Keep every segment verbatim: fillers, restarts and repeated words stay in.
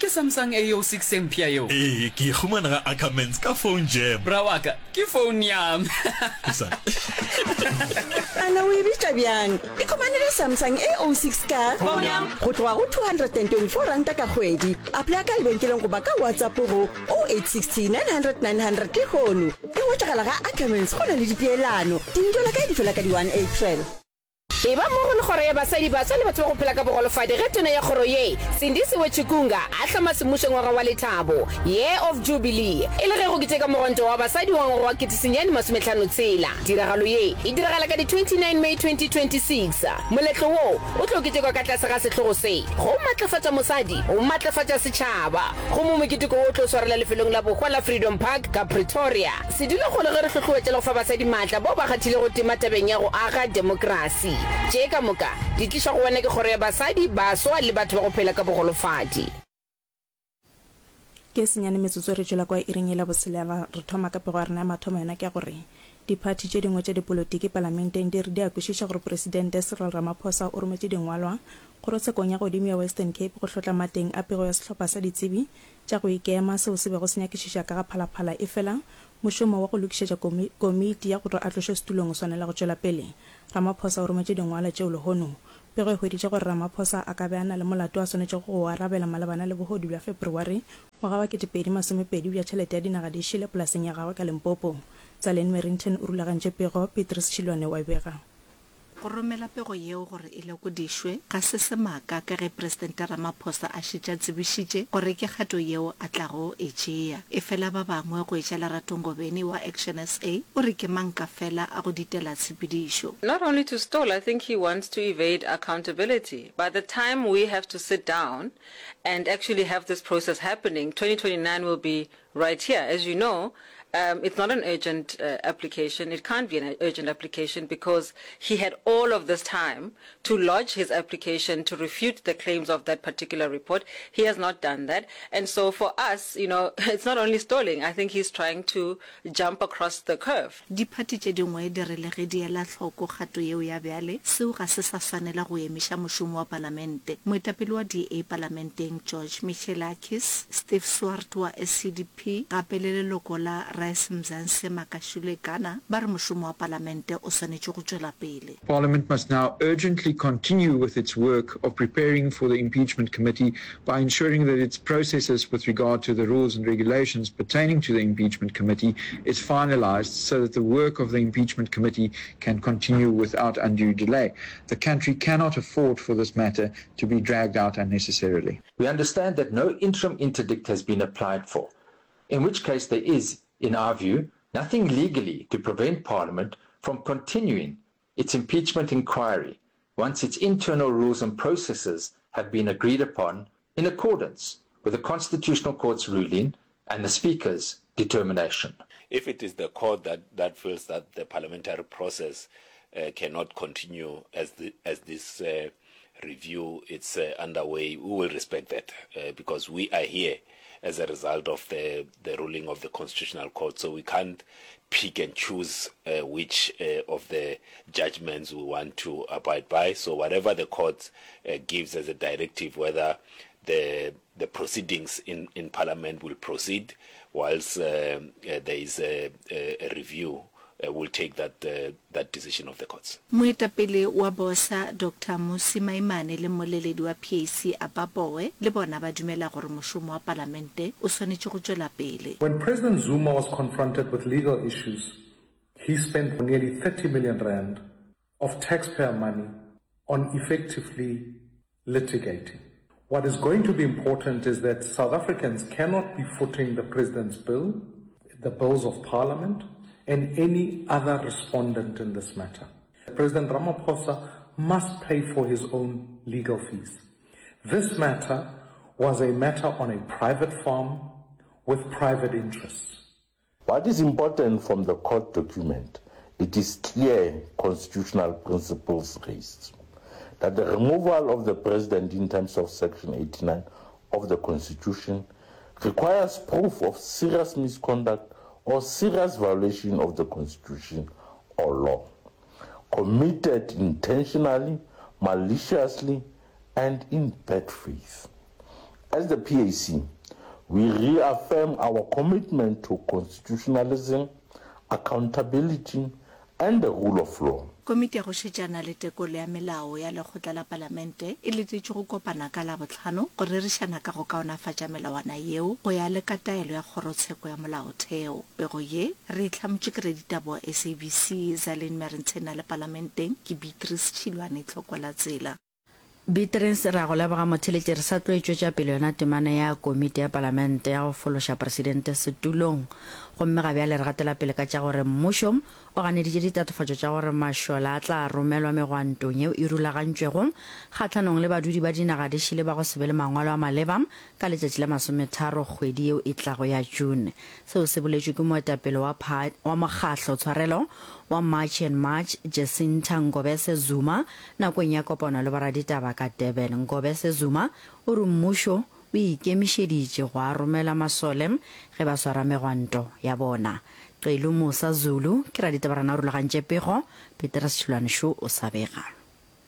Ke Samsung A oh six e mpsha yeo? Ee, ke e humana ga Ackermans ka phone jam. Bra wa ka, ke phone ya me. Ana o e bitša bjang? Ikhumanele Samsung A oh six ka Phone ya me. Go tloga go two hundred and twenty four ranta ka kgwedi. Applya ka lebenkeleng goba ka WhatsApp go oh eight sixty nine hundred nine hundred lehono. E hwetšagala ga Ackermans go na le dipeelano. Dintwa la kae di fela ka di one April. Eba mmogo le Kgoro ya Basadi, Baswa le Batho ba go Phela ka Bogolofadi ge Tona ya Kgoro ye, Sindisiwe Chikunga, a hloma semmušo Ngwaga wa Lethabo, Year of Jubilee, e le ge go keteka Mogwanto wa Basadi wa ngwaga wa kete senyane masomehlano tshela. Tiragalo ye e diragala ka di twenty nine May twenty twenty six Moletlo wo o tlo ketekwa ka tlase ga sehlogo se, Go Matlafatša Mosadi, Go Matlafatša Setšhaba, gomme moketeko wo o tlo swarelwa lefelong la bohwa la Freedom Park ka Pretoria. Se dule kgole ge re hlohloetša le go fa basadi maatla bao ba kgathilego tema tabeng ya go aga demokrasi. Tše ka moka di tlišwa go wena ke Kgoro ya Basadi, Baswa le Batho ba go Phela ka Bogolofadi. Ke senyane metsotso re tšwela kwa iring ye la botshelela. Re thoma ka pego ya rena ya mathomo yona ke ya gore diphathi tše dingwe tša dipolotiki palamenteng di re di a kwešiša gore Presidente Cyril Ramaphosa o rometše dingwalwa kgorotshekong ya godimo ya Western Cape go hlotla mateng a pego ya sehlopha sa ditsebi tša go ikema seo se bego se nyakišiša ka ga Phalaphala efela mošomo wa go lokišetša komiti ya gore a tlošwe setulong o swanela go tšwela pele. Ramaphosa o rometše dingwalwa tšeo lehono. Pego e hweditše gore Ramaphosa a ka be a na le molato a swanetšego go o arabela malebana le bohodu bja Febreware ngwaga wa kete pedi masomepedi bja tšhelete ya dinaga di šele polaseng ya gagwe ka Limpopo. Tsaleng Merrington o rulagantše pego, Petrus Tšhilwane wa e bega. Go romela pego yeo gore e lekodišwe ga se semaka ka ge Presidente Ramaphosa a šetše a tsebišitše gore ke kgato yeo a tlago e tšea. Efela ba bangwe go etša Lerato Ngobeni wa ActionSA o re ke manka fela a go ditela tshepedišo. Not only to stall, I think he wants to evade accountability. By the time we have to sit down and actually have this process happening, twenty twenty-nine will be right here. As you know, um, it's not an urgent, uh, application. It can't be an urgent application because he had all of this time to lodge his application to refute the claims of that particular report. He has not done that. And so for us, you know, it's not only stalling. I think he's trying to jump across the curve. Diphathi tše dingwe di re le ge di ela hloko kgato yeo ya bjale, seo ga se sa swanela go emiša mošomo wa palamente. Moetapele wa D A palamenteng George Michelakis, Steve Swart wa S C D P gape le leloko la Rise Mzansi Makashule Gana ba re mošomo wa palamente o swanetše go tšwela pele. Parliament must now urgently continue with its work of preparing for the impeachment committee by ensuring that its processes with regard to the rules and regulations pertaining to the impeachment committee is finalized so that the work of the impeachment committee can continue without undue delay. The country cannot afford for this matter to be dragged out unnecessarily. We understand that no interim interdict has been applied for, in which case there is, in our view, nothing legally to prevent Parliament from continuing its impeachment inquiry once its internal rules and processes have been agreed upon in accordance with the Constitutional Court's ruling and the Speaker's determination. If it is the court that, that feels that the parliamentary process, uh, cannot continue as, the, as this, uh, review is, uh, underway, we will respect that, uh, because we are here as a result of the, the ruling of the Constitutional Court. So we can't pick and choose, uh, which, uh, of the judgments we want to abide by. So whatever the court, uh, gives as a directive, whether the, the proceedings in, in Parliament will proceed whilst, uh, uh, there is a, a, a review, uh, will take that, uh, that decision of the courts. Moetapele wa Bosa Doctor Mmusi Maimane le mmoleledi wa P A C Abba Pooe le bona ba dumela gore mošomo wa palamente o swanetše go tšwela pele. When President Zuma was confronted with legal issues, he spent nearly thirty million rand of taxpayer money on effectively litigating. What is going to be important is that South Africans cannot be footing the President's bill, the bills of Parliament, and any other respondent in this matter. President Ramaphosa must pay for his own legal fees. This matter was a matter on a private farm with private interests. What is important from the court document, it is clear constitutional principles raised, that the removal of the president in terms of Section eighty-nine of the Constitution requires proof of serious misconduct or serious violation of the Constitution or law, committed intentionally, maliciously, and in bad faith, As the P A C, we reaffirm our commitment to constitutionalism, accountability, and the rule of law. Komiti ya go šetšana le tekolo ya melao ya lekgotla la palamente e letetšwe go kopana ka Labohlano go rerišana ka go kaonafatša melawana yeo go ya le ka taelo ya kgorotsheko ya molaotheo. Pego ye re e hlamotše ke raditaba wa S A B C Zalene Merentshena le palamenteng ke Beatrice Tšhilwane Tlhokwalatsela. Beatrice, re a go leboga motheletši. Re sa tlo e tšwetša pele yona temana ya komiti ya palamente ya go fološa presidente setulong. Gomme ga bjale re gatela pele ka tša gore mmušo o ganeditše ditatofatšo tša gore mašole a tla romelwa megwantong yeo e rulagantšwego kgahlanong le badudi ba dinaga di šele ba go se be le mangwalo a maleba ka letšatši la masometharo kgwedi yeo e tlago ya June. Seo se boletšwe ke moetapele wa wa mokgahlo tshwarelo wa March and March Jacinta Ngobese Zuma nakong ya kopano le boraditaba ka Durban. Ngobese Zuma o re mmušo o ikemišeditše go a romela masole ge ba swara megwanto ya bona. Qelu Musa Zulu ke raditaba rena o rulagantše pego, Petrus Tšhilwane šo o sa bega.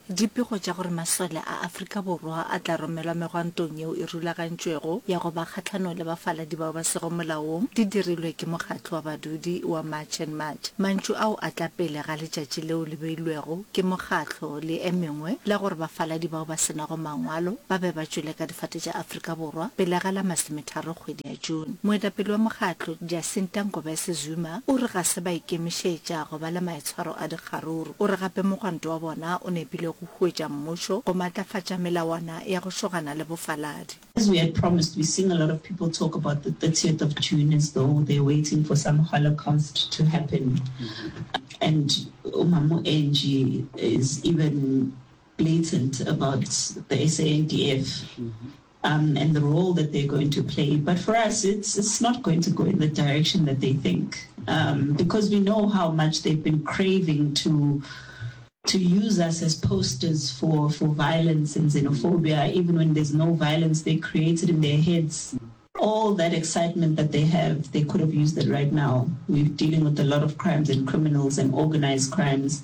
Dipego tša gore masole a Afrika Borwa a tla romelwa megwantong yeo e rulagantšwego ya go ba kgahlanong le bafaladi bao ba sego molaong di dirilwe ke mokgatlo wa badudi wa March and March. Mantšu ao a tla pele ga letšatši leo le beilwego ke mokgatlo le e mengwe la gore bafaladi bao ba se nago mangwalo ba be ba tšwele ka difate tša Afrika Borwa pele ga la masometharo kgwedi ya June. Moetapele wa mokgatlo, Jacinta Ngobese Zuma, o re ga se ba ikemišetša go ba le maitshwaro a dikgaruru. O re gape mogwanto wa bona o nepile go huetša mmušo go matlafatša melawana ya go šogana le bofaladi. As we had promised, we're seeing a lot of people talk about the thirtieth of June as though they're waiting for some holocaust to happen. And Umamu Angie is even blatant about the S A N D F um, and the role that they're going to play. But for us, it's, it's not going to go in the direction that they think, um, because we know how much they've been craving to, to use us as posters for, for violence and xenophobia. Even when there's no violence, they create it in their heads. All that excitement that they have, they could have used it right now. We're dealing with a lot of crimes and criminals and organized crimes,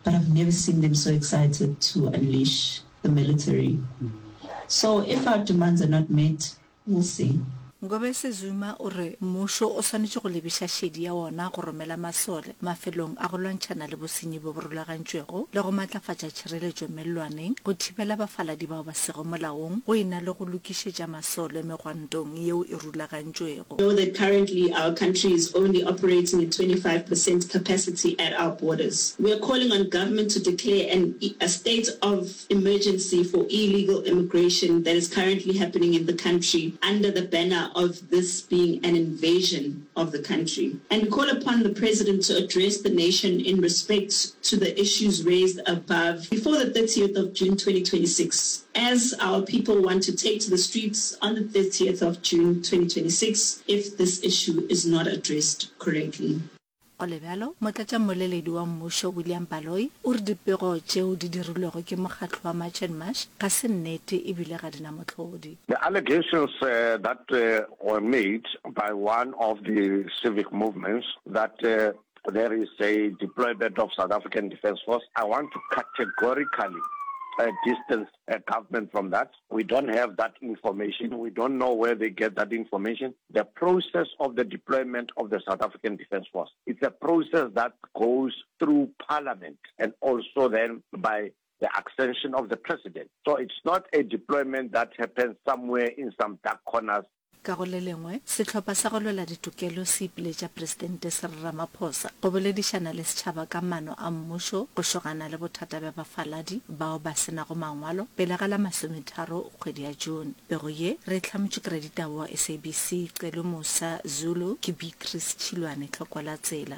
but I've never seen them so excited to unleash the military. So if our demands are not met, we'll see. Ngobese Zuma o re mmušo o swanetše go lebiša šedi ya wona go romela masole mafelong a go lwantšhana le bosenyi bjo bo rulagantšwego le go matlafatša tšhireletšo mellwaneng go thibela bafaladi bao ba sego molaong go e na le go lokišetša masole megwantong yeo e rulagantšwego. Know that currently our country is only operating at twenty-five percent capacity at our borders. We are calling on government to declare an, a state of emergency for illegal immigration that is currently happening in the country under the banner of this being an invasion of the country. And we call upon the president to address the nation in respect to the issues raised above before the thirtieth of June twenty twenty-six, as our people want to take to the streets on the thirtieth of June twenty twenty-six if this issue is not addressed correctly. Go le bjalo, motlatšammoleledi wa mmušo William Baloyi o re dipego tšeo di dirilwego ke mokgatlo wa March and March ga se nnete ebile ga di na mohlodi. The allegations, uh, that, uh, were made by one of the civic movements that, uh, there is a deployment of South African Defence Force, I want to categorically, uh, distance, uh, government from that. We don't have that information. We don't know where they get that information. The process of the deployment of the South African Defence Force, it's a process that goes through Parliament and also then by the accession of the president. So it's not a deployment that happens somewhere in some dark corners. Ka go le lengwe, sehlopha sa go lwela ditokelo se ipiletša Presidente Cyril Ramaphosa go boledišana le setšhaba ka maano a mmušo go šogana le bothata bja bafaladi bao ba se nago mangwalo pele ga la masometharo kgwedi ya June. Pego ye re e hlamotše ke raditaba wa S A B C Celo Musa Zulu ke Beatrice Tšhilwane Tlhokwalatsela.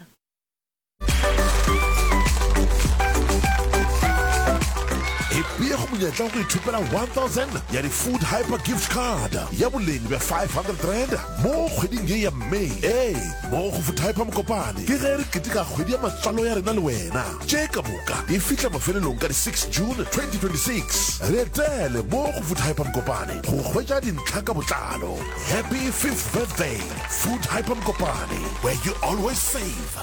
Epea go monyetla wa go ithopela one thousand ya di-Food Hyper Gift Card ya boleng bja five hundred rand mo kgweding ye ya May. Ee, mo go Food Hyper Mokopane ke ge re keteka kgwedi ya matswalo ya rena le wena. Tše ka moka di fihla mafelelong ka di six June twenty twenty-six. Re etele mo go Food Hyper Mokopane go hwetša dintlha ka botlalo. Happy fifth birthday, Food Hyper Mokopane, where you always save.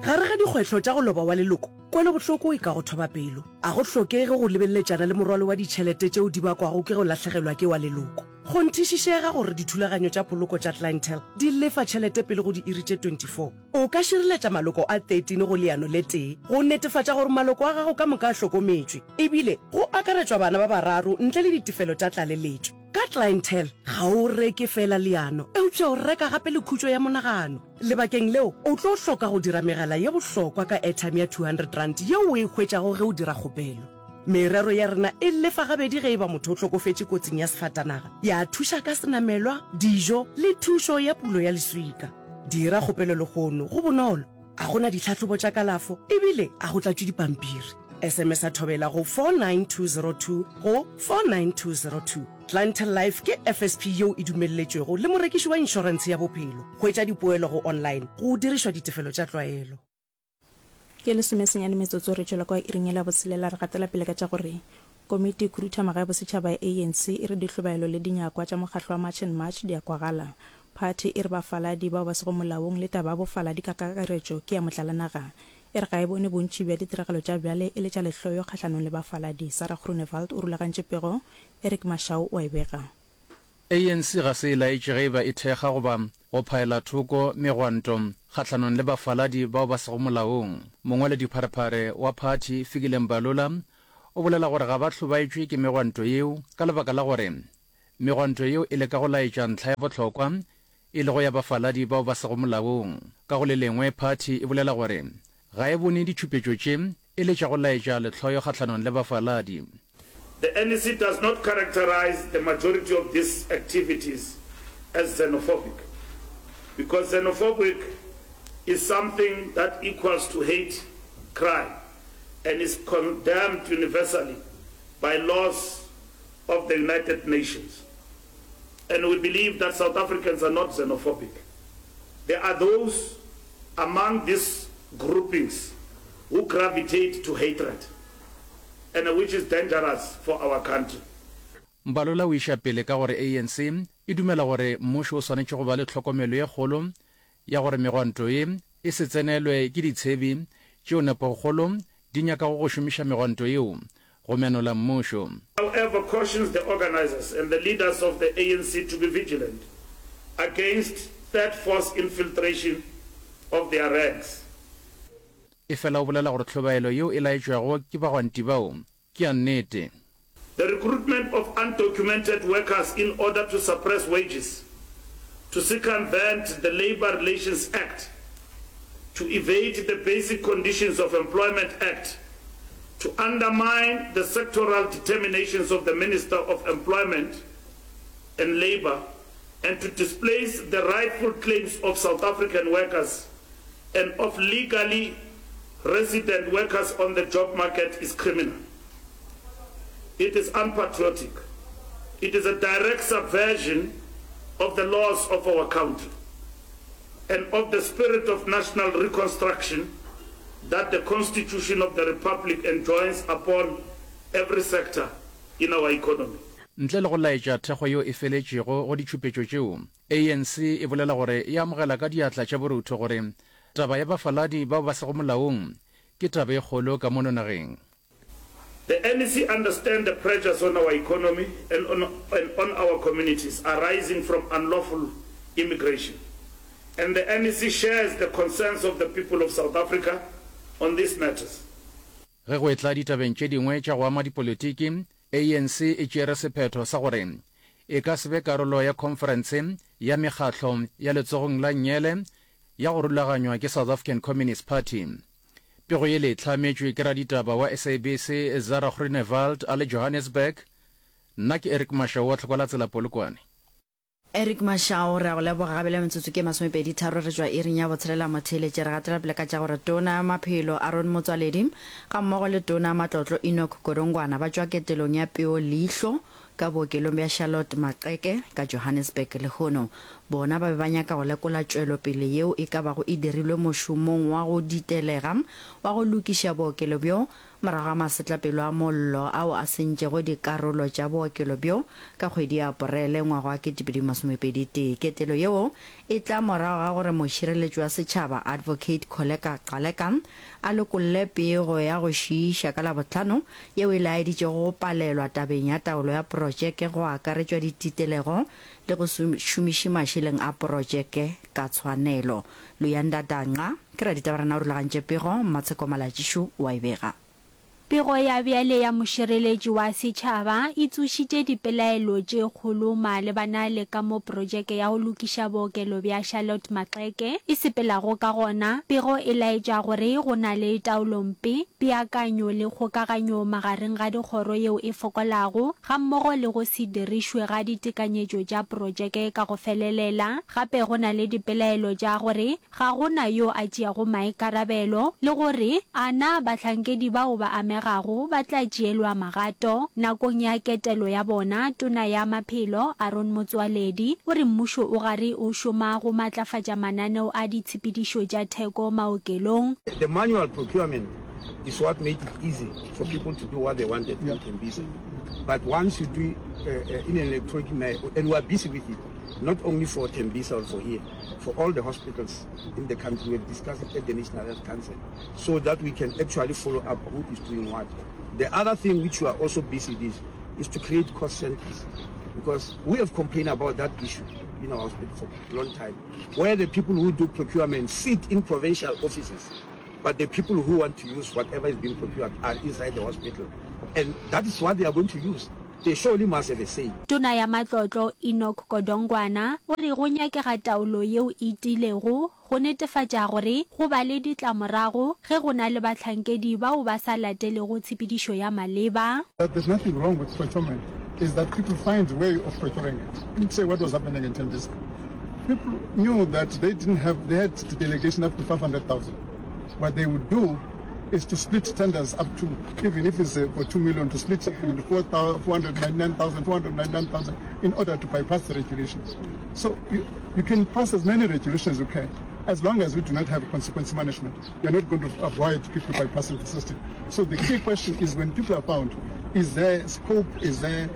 Gare ga dikgwetlho tša go loba wa leloko Kwelobohloko e ka go thoba pelo. A go hlokege go lebeletšana le morwalo wa ditšhelete tšeo di bakwago ke go lahlegelwa ke wa leloko. Kgonthišišega gore dithulaganyo tša poloko tša Clientele di lefa tšhelete pele go diiri tše twenty four. O ka šireletša maloko a thirteen go leano le tee go netefatša gore maloko a gago ka moka a hlokometšwe, ebile go akaretšwa bana ba bararo ntle le ditefelo tša tlaleletšo. Ka Clientele, ga o reke feela leano, eupša o reka gape le khutšo ya monagano. Lebakeng leo, o tlo hloka go dira megala ye bohlokwa ka airtime ya two hundred rand yeo o e hwetšago ge o dira kgopelo. Merero ya rena e lefa gabedi ge e ba motho o hlokofetše kotsing ya sefatanaga, ya thuša ka senamelwa, dijo le thušo ya pulo ya leswika. Dira kgopelo lehono, go bonolo, a go na ditlhahlobo tša kalafo ebile a go tlatšwe dipampiri. S M S a thobela go four nine two zero two go four nine two zero two. Clientele Life ke F S P yeo e dumelletšwego le morekiši wa inšorentshe ya bophelo. Hwetša dipoelo go online go dirišwa ditefelo tša tlwaelo. Ke lesomesenyane metsotso re tšwela kwa iring ya labotshelela re gatela pele ka tša gore Komiti Khuduthamaga ya Bosetšhaba ya A N C e re dihlobaelo le dinyakwa tša mokgatlo wa March and March di a kwagala. Phathi e re bafaladi bao ba sego molaong le taba ya bofaladi ka kakaretšo ke ya motlalanaga. E re ga e bone bontši bja ditiragalo tša bjale e le tša lehloyo kgahlanong le bafaladi. Sarah Groenewald o rulagantše pego, Eric Mashau o a e bega. A N C ga se e laetše ge e ba e thekga goba go phaela thoko megwanto kgahlanong le bafaladi bao ba sego molaong. Mongwaledipharephare wa phathi, Fikile Mbalula, o bolela gore ga ba hlobaetšwe ke megwanto yeo ka lebaka la gore megwanto yeo e leka go laetša ntlha ya bohlokwa e lego ya bafaladi bao ba sego molaong. Ka go le lengwe, phathi e bolela gore ga e bone ditšhupetšo tše e le tša go laetša lehloyo kgahlanong le bafaladi. The N E C does not characterize the majority of these activities as xenophobic, because xenophobic is something that equals to hate crime and is condemned universally by laws of the United Nations. And we believe that South Africans are not xenophobic. There are those among these groupings who gravitate to hatred, and which is dangerous for our country. Mbalula o iša pele ka gore A N C e dumela gore mmušo o swanetše go ba le tlhokomelo ye kgolo ya gore megwanto ye e se tsenelwe ke ditshebi tšeo nepokgolo di nyakago go šomiša megwanto yeo go menola mmušo. However, cautions the organizers and the leaders of the A N C to be vigilant against third force infiltration of their ranks. Efela o bolela gore tlhobaelo yeo e laetšwago ke bagwanti bao ke ya nnete. The recruitment of undocumented workers in order to suppress wages, to circumvent the Labour Relations Act, to evade the Basic Conditions of Employment Act, to undermine the sectoral determinations of the Minister of Employment and Labour, and to displace the rightful claims of South African workers and of legally resident workers on the job market is criminal. It is unpatriotic. It is a direct subversion of the laws of our country and of the spirit of national reconstruction that the Constitution of the Republic enjoins upon every sector in our economy. Ntle le go laetša thekgo yeo e feletšego go ditšhupetšo tšeo, A N C e bolela gore e amogela ka diatla tša borutho gore taba ya bafaladi bao ba sego molaong ke taba e kgolo ka mono nageng. The N E C understand the pressures on our economy and on, and on our communities arising from unlawful immigration. And the N E C shares the concerns of the people of South Africa on these matters. Ge go etla ditabeng tše dingwe tša go ama dipolitiki, A N C e tšere sephetho sa gore e ka se be karolo ya khonferense ya mekgatlo ya letsogong la nngele ya go rulaganywa ke South African Communist Party. Pego yele e hlametšwe ke raditaba wa S A B C Zara Groenewald a le Johannesburg. Nna ke Eric Mashau wa Tlhokwa la Tsela Polokwane. Eric Mashau, re a go leboga gabe le metsotso ke masomepedi tharo re tšwa iring ya botshelela motheeletše. Re gatela pele ka tša gore tona ya maphelo Aaron Motsoaledi ga mmogo le tona ya matlotlo Enoch Godongwana ba tšwa ketelong ya peo leihlo ka bookelong bja Charlotte Maxeke ka Johannesburg lehono. Bona ba be ba nyaka go lekola tšwelopele yeo e ka bago e dirilwe mošomong wa go ditelega wa go lokiša bookelo bjo morago ga masetlapelo a mollo ao a sentšego dikarolo tša bookelo bjo ka kgwedi ya Aporele ngwaga wa kete pedi masomepedi tee. Ketelo yeo e tla morago ga gore mošireletši wa setšhaba Advocate Kholeka Gcaleka a lokolle pego ya go šiiša ka Labohlano yeo e laeditšego go palelwa tabeng ya taolo ya protšeke go akaretšwa dititelego le go se šomiše mašeleng a protšeke ka tshwanelo. Luyanda Danca ke raditaba rena o rulagantše pego, Mmatsheko Malatšišo o a e bega. Pego ya bjale ya mošireletši wa setšhaba e tsošitše dipelaelo tše kgolo malebana le ka mo projeke ya go lokiša bookelo bja Charlotte Maxeke e sepelago ka gona. Pego e laetša gore go na le taolompe, peakanyo le kgokaganyo magareng ga dikgoro yeo e fokolago, gammogo le go se dirišwe ga ditekanyetšo tša projeke ka go felelela. Gape go na le dipelaelo tša gore ga go na yo a tšeago maikarabelo, le gore a na bahlankedi bao ba amegago ba tla tšeelwa magato. Nakong ya ketelo ya bona, Tona ya Maphelo, Aaron Motsoaledi, o re mmušo o gare o šoma go matlafatša mananeo a ditshepedišo tša theko maokelong. The manual procurement is what made it easy for people to do what they wanted in Tembisa. But once you do uh, in an electronic manner, and we are busy with it, not only for Tembisa or for here, for all the hospitals in the country, we have discussed it at the National Health Council, so that we can actually follow up who is doing what. The other thing which we are also busy with is to create cost centers, because we have complained about that issue in our hospital for a long time, where the people who do procurement sit in provincial offices, but the people who want to use whatever is being procured are inside the hospital. And that is what they are going to use. They surely must have a say. Tona ya Matlotlo Enoch Godongwana o re go nyakega taolo yeo e tiilego go netefatša gore go ba le ditlamorago ge go na le bahlankedi bao ba sa latelego tshepedišo ya maleba. That there's nothing wrong with procurement is that people find way of procuring it. Let's say what was happening in Tembisa. People knew that they didn't have, they had the delegation up to five hundred thousand. What they would do is to split tenders up to, even if it's, uh, for two million, to split it into four thou-, four hundred ninety-nine thousand, four hundred ninety-nine thousand in order to bypass the regulations. So you, you can pass as many regulations as you can. As long as we do not have consequence management, you're not going to avoid people bypassing the system. So the key question is, when people are found, is there scope, is there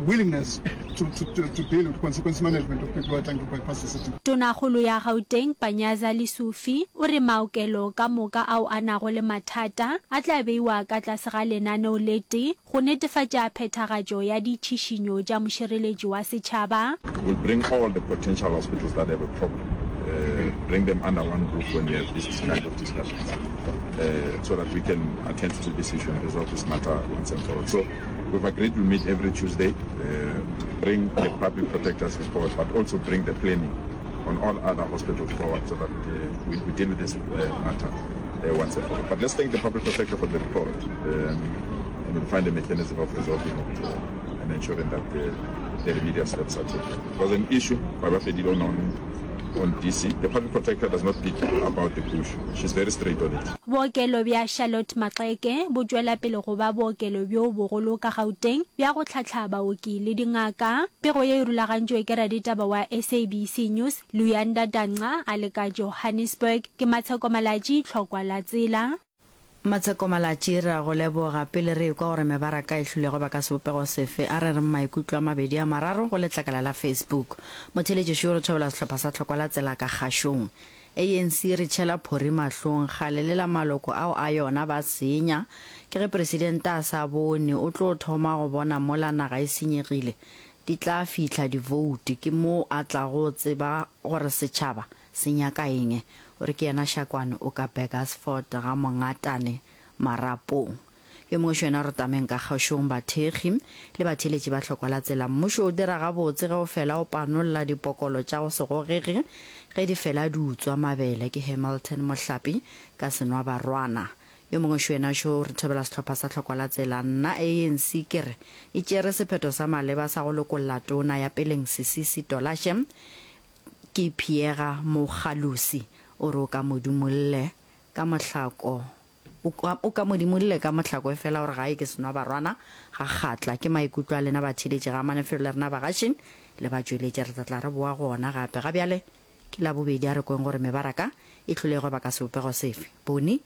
willingness to, to, to, to deal with consequence management of people who are trying to bypass the system? Tonakgolo ya Gauteng, Panyaza Lesufi, o re maokelo ka moka ao a nago le mathata a tla beiwa ka tlase ga lenaneo le tee go netefatša phethagatšo ya ditšhišinyo tša mošireletši wa setšhaba. We'll bring all the potential hospitals that have a problem, uh, bring them under one roof when we have this kind of discussions, uh, so that we can attend to this issue and resolve this matter once and for all. So we've agreed we'll meet every Tuesday, uh, bring the public protector's report, but also bring the planning on all other hospitals forward so that, uh, we, we deal with this, uh, matter, uh, once and for all. But let's thank the public protector for the report, um, and we'll find a mechanism of resolving it, uh, and ensuring that the, the remedial steps are taken. It was an issue, Baba Fedilon on, on D C. The public protector does not beat about the bush. She's very straight on it. Bookelo bja Charlotte Maxeke bo tšwela pele go ba bookelo bjo bogolo ka Gauteng bja go tlhahla baoki le dingaka. Pego ye e rulagantšwe ke raditaba wa S A B C News, Luyanda Danca, a le ka Johannesburg. Ke Matsheko Malatši, Tlhokwa la Tsela. Matsheko Malatši, re a go leboga. Pele re ekwa gore mebaraka e hlolego ba ka sebopego sefe, a re re maikutlo a mabedi a mararo go letlakala la Facebook. Motheeletši o re thobela sehlopha sa Tlhokwa la Tsela ka kgašong. A N C re tšhela phori mahlong, kgale le la maloko ao a yona ba senya. Ke ge presidente a sa bone, o tlo thoma go bona mola naga e senyegile. Di tla fihla divoute, ke mo a tlago tseba gore setšhaba se nyaka eng. O re ke yena Shakwane o ka Burgersfort ga Mongatane Marapong. Yo mongwe šo yena re tameng ka kgašong bathekgi le batheeletši ba Tlhokwa la Tsela. Mmušo o dira gabotse ge o fela o panolla dipokolo tša go se gogege ge di fela di utswa mabele. Ke Hamilton Mohlapi ka Senwa Barwana. Yo mongwe šo yena šo re thobela sehlopha sa Tlhokwa la Tsela. Nna A N C ke re e tšere sephetho sa maleba sa go lokolla tona ya peleng Sisisi Tolashe ke Piega Mogalusi. O re o ka modimolle ka mohlako, o ka, o ka modimolle ka mohlako e fela gore gae ke Senwa Barwana ga kgatla. Ke maikutlo a lena batheeletši ga manefelo le rena bagaši le ba tšweletše. Re tla tla re boa go ona gape. Ga bjale ke la bobedi, a re kweng gore mebaraka e hlolego ba ka sebopego sefe. Boni.